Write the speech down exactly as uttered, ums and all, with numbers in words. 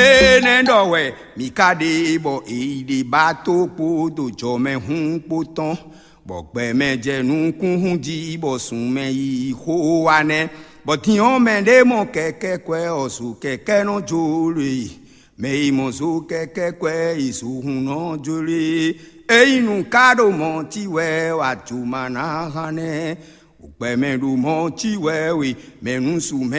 Énɛ́ ɖɔ wɛ mǐ ka ɖe bɔ è yi ɖe ba tó kpódó jɔmɛhún kpó tɔn, bɔ gbɛmɛ jɛ nukúnhún jí bɔ sunmɛ yi xó wa nɛ́. Bɔ din ɔ́, mɛ ɖé mɔ kɛkɛ́kwɛ́ ɔ́ zo kɛkɛ́ nɔ jló e, mɛ e mɔ zo kɛkɛ́kwɛ́ e zo hun nɔ jló e. Ényí nu ka ɖo mɔ̌ cí wɛ wǎ jǒ ma ná hán nɛ́. Gbɛmɛ ɖo mɔ̌ cí wɛ we, mɛ nú su mɛ